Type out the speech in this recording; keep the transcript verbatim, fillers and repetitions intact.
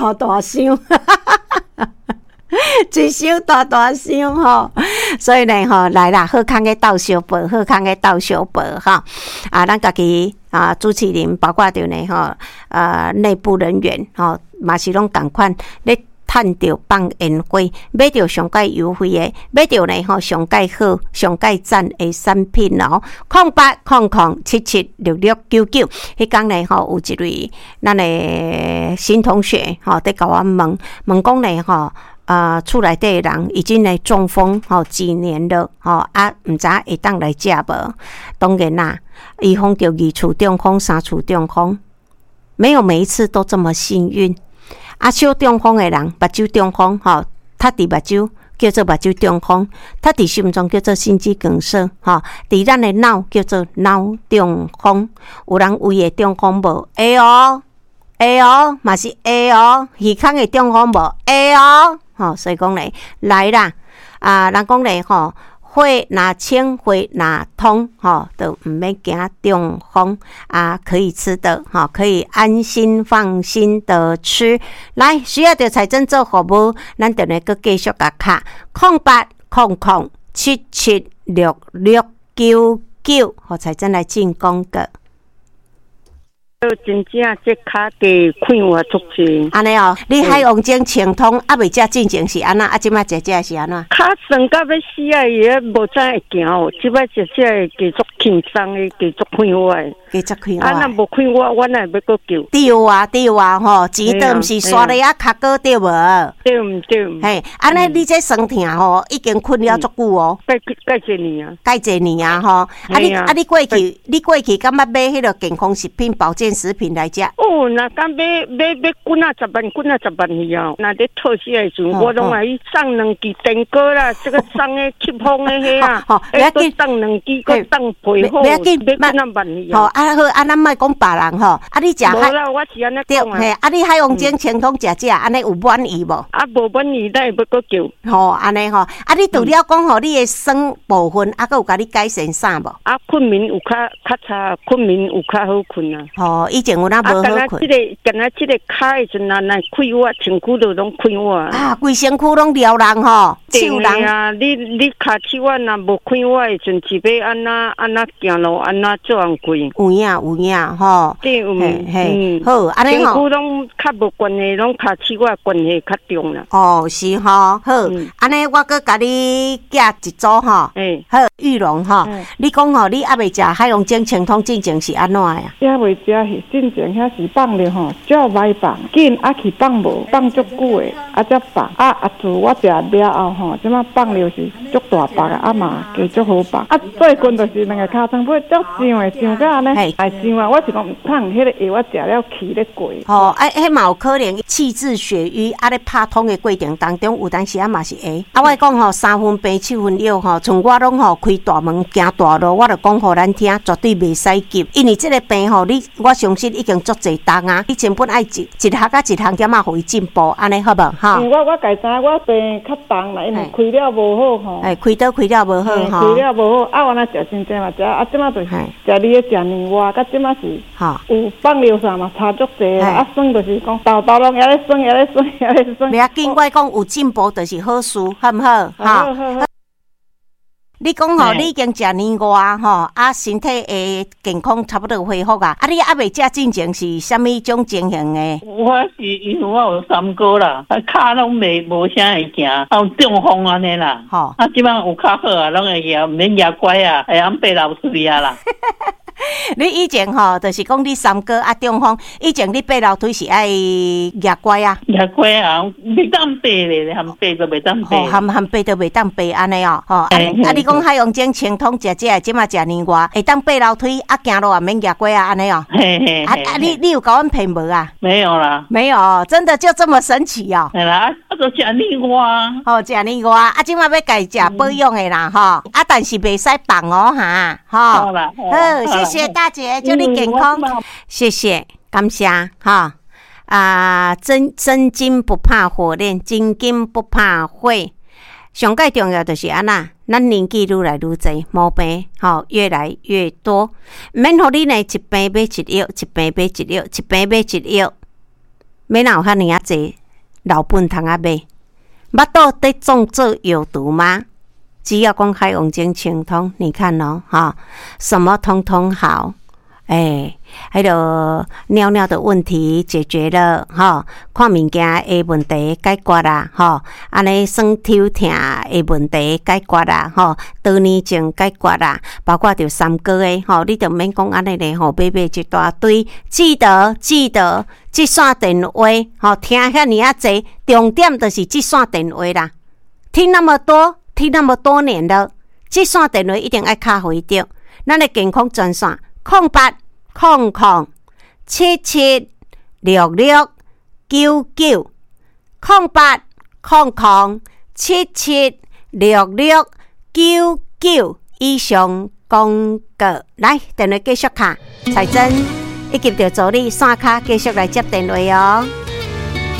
大大箱。一箱大大箱吼，所以呢吼，來啦，好康的鬥相報，好康的鬥相報吼。啊，咱家己啊，主持人包括著呢吼，啊，內部人員吼，嘛是攏仝款咧趁著放煙花，買著上蓋優惠的，買著呢吼上蓋好、上蓋讚的產品哦。空八空空七七六六九九，彼工呢吼有一位咱的新同學吼，佇共阮問問講呢吼。啊，厝內底的人已經呢中風吼幾年了吼啊，毋知會當來食無？當然啦，伊風著二次中風、三次中風，沒有每一次都這麼幸運。啊，小中風的人，目睭中風吼，踢佇目睭叫做目睭中風，踢佇心臟叫做心肌梗塞，吼，佇咱的腦叫做腦中風。有人胃會中風無？會哦，會哦，嘛是會哦，耳孔會中風無？會哦。吼，所以講咧，來啦！啊，人講咧吼，血若清，血若通，吼，都毋免驚中風啊，可以吃的，吼，可以安心放心的吃。來，需要著彩珍做服務，咱就來閣繼續共敲空八空空七七六六九九，予彩珍來進廣告。真正這跤的快活足濟。按呢哦，你海王精清通猶未食進前是按怎？啊，這擺食食是按怎？跤酸甲欲死啊！伊無知會行哦，這擺食食會繼續輕鬆的，繼續快活的。繼續快活。啊，若無快活，我哪會欲閣叫？對啊，對啊，吼，錢都毋是刷咧啊，跤哥對無？對毋對？嘿，按呢，你這酸痛吼，已經困擾足久哦。蓋蓋濟年啊？蓋濟年啊，吼！啊你啊你過去，你過去敢捌買彼個健康食品、保健食品來食？哦，若敢買買買幾仔十萬、幾仔十萬去哦。若咧透死的時陣，我攏愛送兩支電鍋啦，這個送的吸風的彼啊，欸，閣送兩支，閣送被好，買幾仔萬去哦。啊好，啊咱莫講別人吼，啊你食無啦，我是按呢講啊。嘿，啊你海王精清通食食，按呢有滿意無？啊，無滿意，咱會欲閣叫。吼，按呢吼，啊你除了講吼，你的酸部分，啊閣有共你改善啥無？啊，困眠有較較差，困眠有較好睏啊。吼，以前有哪無好睏？啊，這個，敢若這個跤的時陣，若快活，身軀就攏快活。啊，規身軀攏撩人吼，手人。啊，你你跤手仔若無快活的時陣，是欲按怎按怎行路，按怎做工課？有影有影吼。對，嘿嘿，好，按呢吼。身軀攏較無關係，攏跤手仔關係較重啦。哦，是吼，好，按呢我閣共你寄一組吼。欸。好，玉龍吼，你講吼，你猶未食海王精清通進前是按怎呀？猶未食是進前遐是放著吼，足歹放，緊啊去放無，放足久的，啊才放，啊啊自我食了後吼，這擺放著是足大腹的，啊嘛加足好放。啊最近就是兩个尻川尾足脹的，脹甲按呢，會脹啊！我是講毋通，彼個藥我食了氣咧過。吼，啊，彼嘛有可能氣滯血瘀，啊咧拍通的過程當中，有當時啊嘛是會。啊，我講吼，三分病七分藥吼，像我攏吼開大門行大路，我就講予咱聽，絕對袂使急，因為這個病吼，你我相信已經足濟冬啊，你根本愛一一項仔一項點仔予伊進步，按呢好無？吼。因為我我家知我病較重啦，因為開了無好吼。欸，開刀開了無好吼。開了無好，啊，原來食真濟嘛食，啊，這擺就是食你咧食年外，佮這擺是有放療啥嘛差足濟啦，啊，酸就是講豆豆攏猶咧酸，猶咧酸，猶咧酸。袂要緊，我講有進步就是好事，好毋好？好好好。你講吼，你已經食年外吼，啊，身體的健康差不多恢復啊。啊，你猶未食進前是啥物種情形的？我是因為我有三高啦，啊，跤攏袂無啥會行，啊有中風按呢啦。吼，啊，這擺有較好啊，攏會行，毋免攑拐啊，會曉爬樓梯啊啦。你以前吼，就是講你三高啊中風，以前你爬樓梯是愛攑拐啊？攑拐啊，袂當爬咧，含爬都袂當爬。含含爬都袂當爬按呢哦，吼啊啊！你講海王精清通食食，這擺食年外，會當爬樓梯啊，行路也免攑拐啊，按呢哦。嘿嘿。啊啊！你你有共阮騙無啊？沒有啦。沒有，真的就這麼神奇哦。係啦，啊，就食年外。吼，食年外，啊，這擺欲共食保養的啦，吼，啊，但是袂使放哦，哈，吼。好啦。好，謝謝大姐，祝你健康。謝謝，感謝，哈。啊，真真金不怕火煉，真金不怕火。上蓋重要就是按怎，咱年紀愈來愈濟，毛病吼越來越多，毋免予你呢一病買一藥，一病買一藥，一病買一藥，欲哪有遐爾仔濟老本通啊買？腹肚咧創做藥毒嗎？只要講海王星清通，你看哦，哈，什麼通通好，欸，彼个尿尿的問題解決了，吼，看物件的問題解決啦，吼，按呢酸抽疼的問題解決啦，吼，多囊症解決啦，包括著三高的，吼，你著免講按呢咧，吼，買買一大堆，記得記得，這線電話，吼，聽遐爾仔濟，重點就是這線電話啦，聽那麼多，聽那麼多年了，這線電話一定愛敲予伊著，咱的健康專線空八空空七七六六九九空八空空七七六六九九以上廣告，來電話繼續敲，彩珍以及著助理線跤繼續來接電話哦。